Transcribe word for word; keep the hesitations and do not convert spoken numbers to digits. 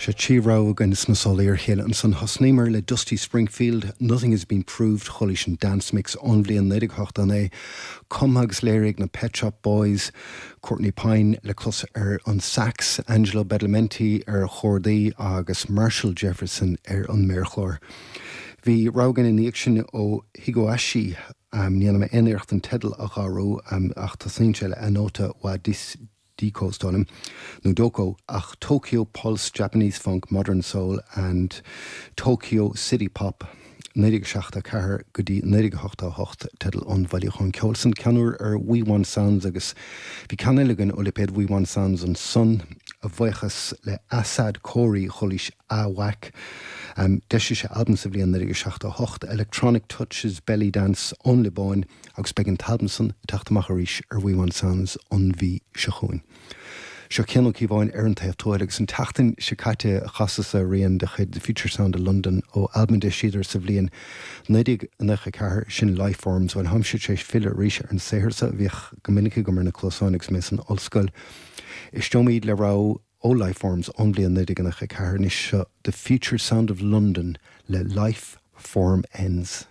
Sé trí rogha againn sna sála ar chéile ansan thosnaíomar le Dusty Springfield, Nothing Has Been Proved chualaís an Dance Mix ón bhliain naoi déag ochtó a naoi, cumtha agus léirithe ag na Pet Shop Boys, Courtney Pine le clos ar an sax, Angelo Badalamenti ar chordaí agus Marshall Jefferson ar an méarchlár. Bhí rogha againn ina dhiaidh sin ó Higoashi um, ní dhéanfaidh mé aon iarracht an teideal a ghalrú um, ach tosaíonn sé le Anota wa dis Diko Stonham nó Doko ach Tokyo Pulse Japanese Funk Modern Soul and Tokyo City Pop naoi déag seachtó ceathair go dtí naoi déag ochtó hocht teideal an bhailiúcháin ceoil san ceann úr ar We Want Sounds agus bhí ceann eile againn ó lipéad We Want Sounds ansan a bhuíochas le Assad Khoury chualaís Awak. Um, D'eisigh sé albam sa bhliain naoi déag seachtó hocht Electronic Touches Belly Dance ón Liobáin agus beidh an t-albam san ag teacht amach arís ar We Want Sounds an mhí seo chugainn. Seo Cian Ó Cíobháin ar an taobh tuaidh agus an tseachtain seo caite chasas rian de chuid The Future Sound of London ó albam a d'eisíodar sa bhliain naoi déag nócha ceathair sin Lifeforms bhuel táimse tar éis filleadh arís ar an saothar seo a bhíodh go minic agam ar na cluasáin agus mé san ollscoil. Éisteoimid le rogha ó Lifeforms ón bhliain naoi déag nócha ceathair anois seo The Future Sound of London le Life Form Ends.